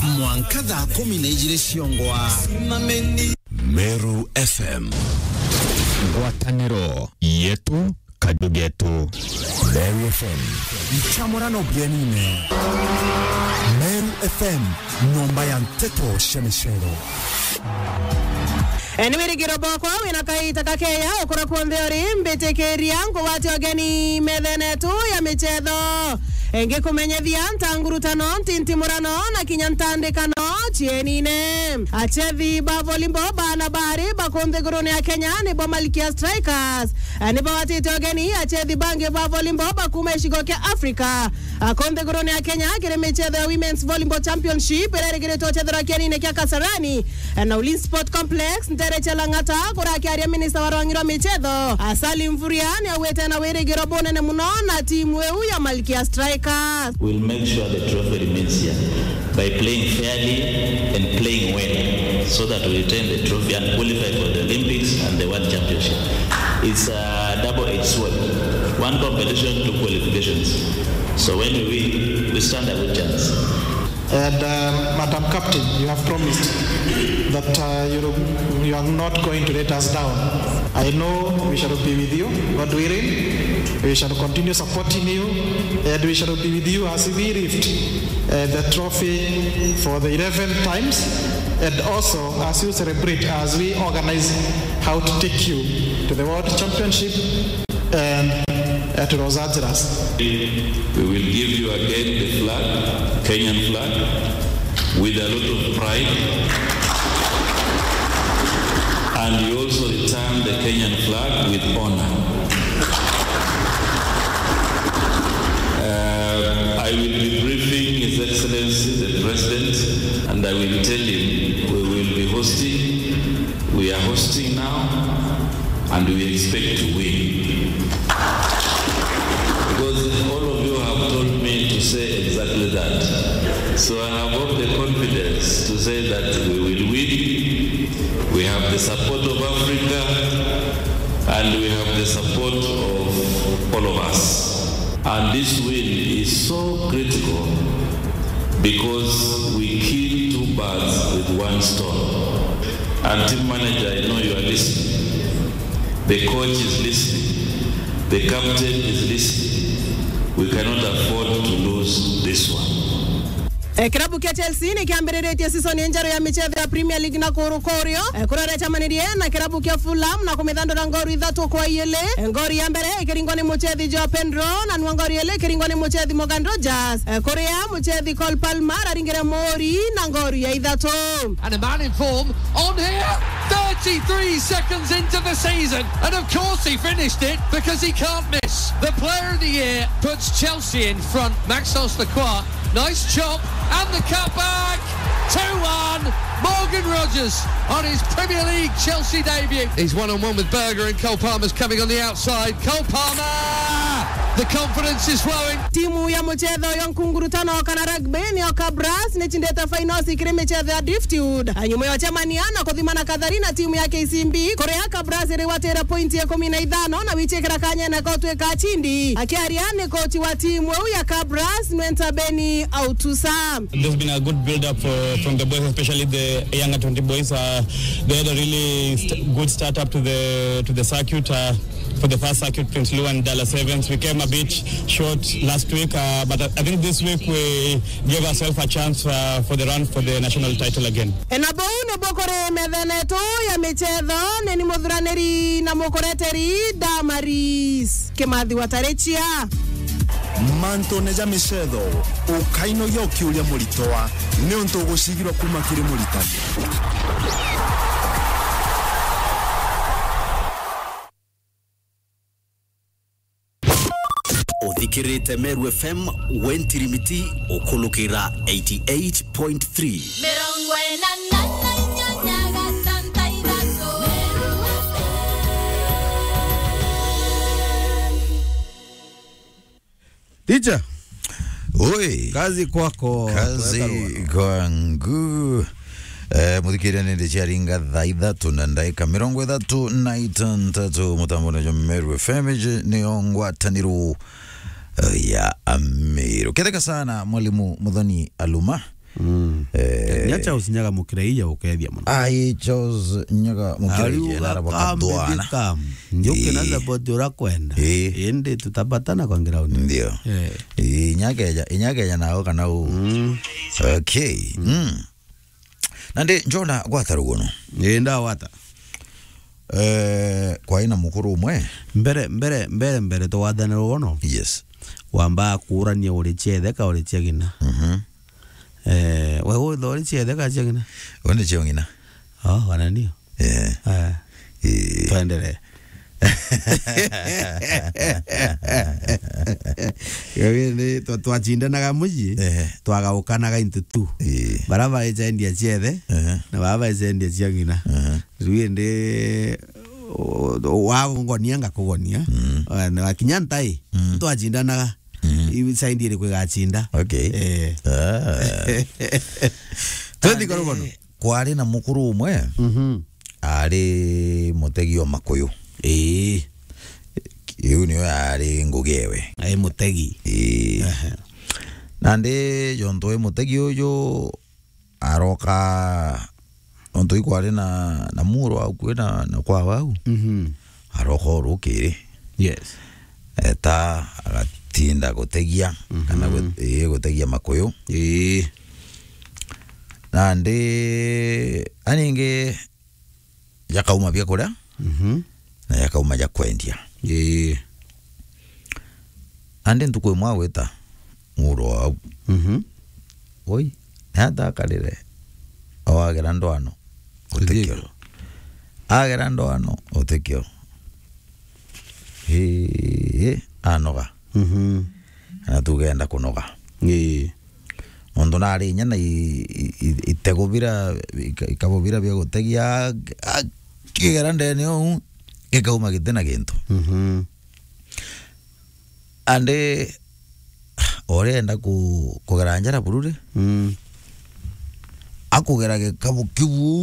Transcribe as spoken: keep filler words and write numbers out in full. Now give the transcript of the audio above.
Mwanka thaa kumi na ijiri ciongwa. Meru F M. Ngwataniro yetu, kaju getu. Meru F M. Nchamurano bienine. Meru F M, nyomba ya nteto cia micero. E, ni wirigiro bwakwa wina kaita kakeya ukura kunthe uri, mbitikiria nkugwate ugeni methene yetu ya michetho. E, ngikumenyethia ntangurutano, ntintimurano na kinya ntandikano cienine. Achethi ba volleyball bana bari ba kunthi ngurune ya Kenya nibo Malkia Strikers. E, nibo batite ugeni achethi bangi ba volleyball ba kuma gicigo kia Africa. A, kunthi ngurune ya Kenya kiri michetho ya Women's Volleyball Championship iria irigiritwe guchethera kienine kia Kasarani, e, na Ulinzi Sport Complex, ntere cia Lang'ata. Kurakiaria minista wa rwangi rwa michetho, a, Salim Mvurya, ni augite na wirigiro bunene muno na timu iu ya Malkia Strikers. We'll make sure the trophy remains here by playing fairly and playing well so that we retain the trophy and qualify for the Olympics and the World Championship. It's a double-edged sword. One competition, two qualifications. So when we win, we stand a good chance. And, um, Madam Captain, you have promised that, uh, you, you are not going to let us down. I know we shall be with you, God willing. We shall continue supporting you, and we shall be with you as we lift, uh, the trophy for the eleventh times, and also as you celebrate, as we organize how to take you to the World Championship and, uh, to Los Angeles. We will give you again the flag, Kenyan flag, with a lot of pride. And you also return the Kenyan flag with honor. Uh, I will be briefing His Excellency the President, and I will tell him we will be hosting, we are hosting now, and we expect to win. Because all of you have told me to say exactly that. So I have all the confidence to say that we will win. We have the support of Africa, and we have the support of all of us. And this win is so critical because we kill two birds with one stone. And team manager, I know you are listening. The coach is listening. The captain is listening. We cannot afford to lose this one. E, kirabu kia Chelsea ni kiambiriritie season njeru ya michetho ya Premier League na kuru kurio, e, kuria riacemanirie na kirabu kia Fulham na kumithandura ngoru ithatu kwa iili. E, ngoru ya mbere ikiringwa ni muchethi Joao Pedro, na nua ngoru ya iili ikiringwa ni muchethi Morgan Rogers, e, kuria muchethi Cole Palmer aringire muuri na ngoru ya ithatu. And a man in form on here, thirty-three seconds into the season, and of course he finished it because he can't miss. The player of the year puts Chelsea in front. Maxence Lacroix, nice chop, and the cutback, two one. Morgan Rogers on his Premier League Chelsea debut. He's one on one with Berger, and Cole Palmer's coming on the outside. Cole Palmer! The confidence is flowing. Timu ya muchezo yo nkungurutano kana rugby niyo Kabras nichindite finals ikiri michezo ya Driftwood. Nyuma ya kucemania na kuthimana kathari na timu ya K C B, kuria Kabras irigwatira pointi ikumi na ithano na wichikira kanya na kotwika chindi. Akiaria ni kochi wa timu iu ya Kabras, Nwenta Beni Autusa. There's been a good build up for, from the boys, especially the younger twenty boys. Uh, they had a really st-, good start up to the, to the circuit. Uh, for the first circuit, Prince Lou and Dallas Evans. We came a bit short last week, uh, but I, I think this week we gave ourselves a chance, uh, for the run for the national title again. Na bau nibo kuri methene yetu ya michetho, ni ni muthuraniri na mukureteri Damaris Kimathi wa Tarichia. Mantune ja michetho, ukainogia ukiuria muritwa, niuntu ugucigirwa kuma kiri muritani. Uthikirite Meru F M, we ntirimiti ukulukira eighty eight point three. Mirongo ina na inyanya gatanta ithatu. Teacher. Oi. Kazi kwako. Kazi kwangu. Eh, muthikiria nindi ciaringa thaa ithatu na ndaika mirongo ithatu na itantatu, mutambone jwa Meru F M, iji niyo ngwataniro, eh, ya Amiru. Ketheka sana, Mwalimu Muthoni Aluma. Mm. Eh, Charles Nyaga Mukirei ya ukethia muno. Ai, Charles Nyaga Mukirei, ariuga, na arabaka "Come, baby, ndwana. Come." Njuke na Ii. Support urakwenda. Ii. Indi tutabatana kwa ground. Ndio. Eh. Ii, inyakeja, inyakeja nao kana u. Mm. Okay. Mm. Na ndi njona gwata rugono. Ii, ndawata. Eh, kwai na mukuru umwe. Mbere, mbere, mbere, mbere twathane rugono. Yes. Wamba kurania uri ciethe ka uri ciagina. Mhm. Eh, we withori ciethe ka ciagina? Wende ciong'ina. Oh, wananio. Eh. Eh. Eh. Twendelee. Gabindi twa-, twacindanaga mucii, Ehe. twagaukanaga into two. Eh. Bara baicendia ciethe, Ehe. na bara baicendia cia ng'ina. Ehe. Riu indi, o-, o-, wagonia ngakugonia. Mm. Eh, na wakinya ntai, Mm. twacindanaga. Mm. Iu side iriku igacinda? Okay. Eh. Ah. Tuthi kwa rugono. Kwari na mukuru umwe, Mhm. ari mutegi o makuyu. Ii. Iu niyo yari ngugi ewe. Ai mutegi. Ii. Ehe. Nandi jontu e mutegi uju aroka, ontu ikwari na, na muro au kwi na, na kwa wau. Mhm. Aroka urukiri. Yes. Eta agatinda gutegia, kana Mhm. gut-, ii, gutegia makuyu. Ii. Nandi, aningi jakauma bia kuria, Mhm. na jakauma ja kwendia. Ii. Nandi ntuku imwe agwita muro au. Mhm. Oi, ni ata akarire? O agera ndwano, utikio. Utikio. Agera ndwano, utikio. Ii, anoga. Mhm. Kana tugenda kunoga. Ii. Nontu nari inya na i-, i-, i-, itego bira, ika-, ikabo bira bia gutegia, a-, akigera ndene ou, gikauma giti na gintu. Mhm. Andi, urenda ku-, kugera njara bururi? Mm. Akugera gikabu kiu